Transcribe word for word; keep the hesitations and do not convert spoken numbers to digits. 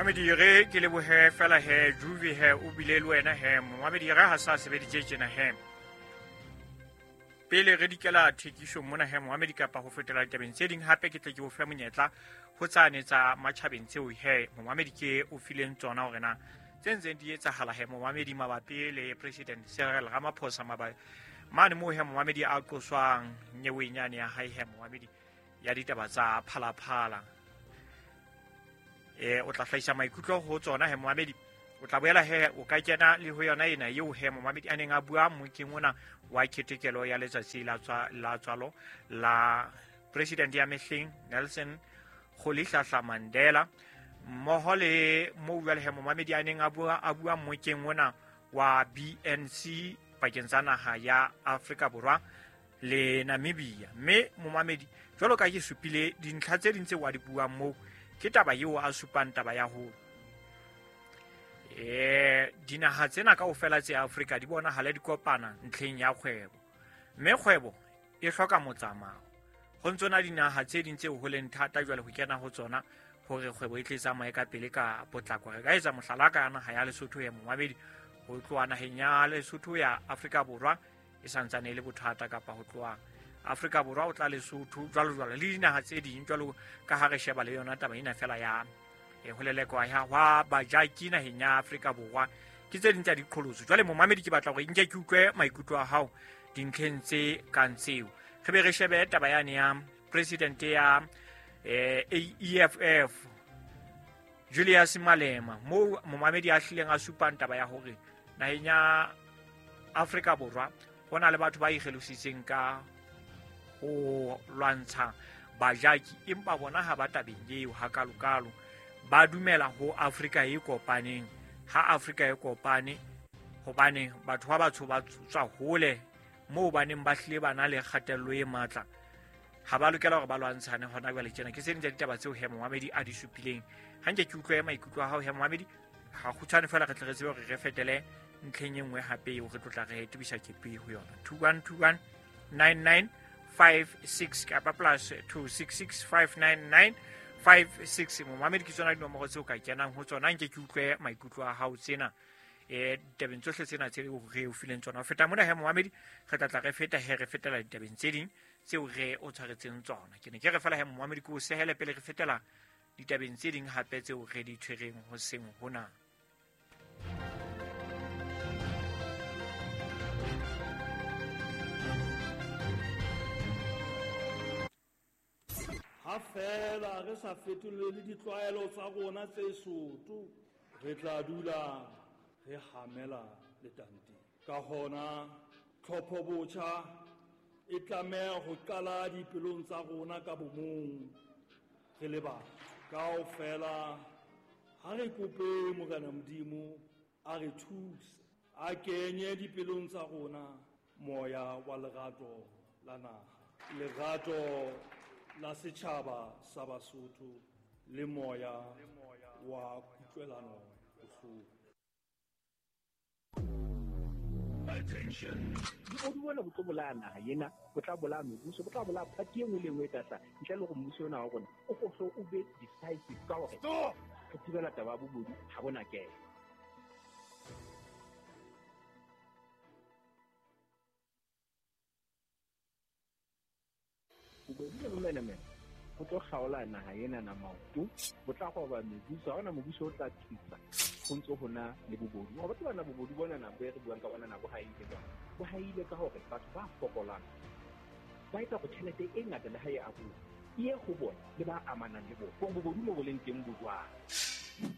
Mamedi re ke lebohe fela he Juve he o bile le wena he momamedi re ha sa sebeditse tjena he pele re dikela thekiso mona he momamedi kapa ho fetela ditabeng tse ding hape ke tle ke o fe monyetla ho tsane tsa matjhabeng tseo he momamedi ke o fileng tsona hore na tse ntseng di etsahala he momamedi mabapi le President Cyril Ramaphosa mabapi mane moo he momamedi a qoswang nyeweng yane ya hae he momamedi ya ditaba tsa Phalaphala. E o tla hlahisa maikutlo ho tsona he momamedi o tla boela he o ka kena le ho yona ena eo he momamedi a neng a bua mokeng ona wa ketekelo ya letsatsi la tswa la tswalo la president ya mehleng Nelson Rolihlahla Mandela mmoho le moo jwale he momamedi a neng a bua a bua mokeng ona wa B N C pakeng tsa naha ya Afrika Borwa le Namibia. Mme momamedi jwalo ka ke supile dintlha tse ding tse wa di buang moo ke taba eo a supang taba ya ho eh dinaha tsena kaofela tse Afrika di bonahala di kopana ntlheng ya kgwebo, mme kgwebo e hloka motsamao. Ho ntso na dinaha tse ding tseo ho leng thata jwale ho kena ho tsona hore kgwebo e tle tsamaye ka pele ka potlako. Re ka etsa mohlala ka naha ya Lesotho ya momamedi ho tloha naheng ya Lesotho ya Afrika Borwa e santsane e le bothata, kapa ho tloha Afrika Borwa o tla Lesotho jwalo jwalo le dinaha tse ding jwalo ka ha re sheba le yona taba ena fela ya e ho lelekwa ya hwa bajaki naheng ya Afrika Borwa ke tse ding tsa diqholotso. Jwale momamedi ke batla hore nke ke utlwe maikutlo a hao dintlheng tse kang tseo. Re be re shebe taba yane ya president ya eh, E F F Julius Malema moo momamedi a hlileng a supang taba ya hore naheng ya Afrika Borwa ho na le batho ba ikgelositseng ka ho lwantsha bajaki, empa bona ha ba tabeng eo hakalokalo, ba dumela ho Afrika e kopaneng. Ha Afrika e kopane hobane batho ba batsho ba tswa hole moo ba neng ba hlile ba na le kgatello e matla, ha ba lokela hore ba lwantshane hona jwale tjena. Ke tse ding tsa ditaba tseo he momamedi a di supileng. Ha nke ke utlwe maikutlo a hao he momamedi ha kgutshwane fela re tle re tsebe hore re fetele ntlheng e nngwe hape eo re tlotla re tebisa kepe ho yona. Two one two one nine nine five six kapa plus two six six five nine nine five six. Momamedi ke tsona dinomoro tseo ka kenang ho tsona. Nke ke utlwe maikutlo a hao tsena eh ditabeng tsohle tsena tse re o fileng tsona. Ho feta mona he momamedi re tla tla re feta he re fetela ditabeng tse ding tseo re o tshwaretseng tsona. Ke ne ke re fela he momamedi ke o sehele pele re fetela ditabeng tse ding hape tseo re di tshwereng ho seng hona. Ha fela re sa fetolele ditlwaelo tsa rona tse soto, re tla dula re hamela letanteng. Ka hona tlhopho botjha e tlameha ho qala dipelong tsa rona ka bomong re le batho. Kaofela ha re kope Morena Modimo a re thuse, a kenye dipelong tsa rona moya wa lerato la naha, lerato la setjhaba sa Basotho le moya wa kutlwelano bohloko. Attention. Di bona bo tlo bolaya naha ena, bo tla bolaya mebuso, bo tla bolaya party e nngwe le e nngwe e tla hlaha. Ntle le hore mmuso ona wa rona o hlo o be decisive ka hore re thibela taba ya bobodu ha bona kelo. Bobodu le bomenemene ho tlo kgaola naha ena na maoto, bo tla roba mebuso, ha hona mobuso o tla thusa ho ntso ho na le bobodu. Wa batho bana bobodu bona na bo e re buang ka bona na bo haile jwang? Bo haile ka hore batho ba fokolang ba etsa hore tjhelete e ngata le ha e abuwa e ye ho bona le ba amanang le bona. Hore bobodu mo bo leng teng bo jwang?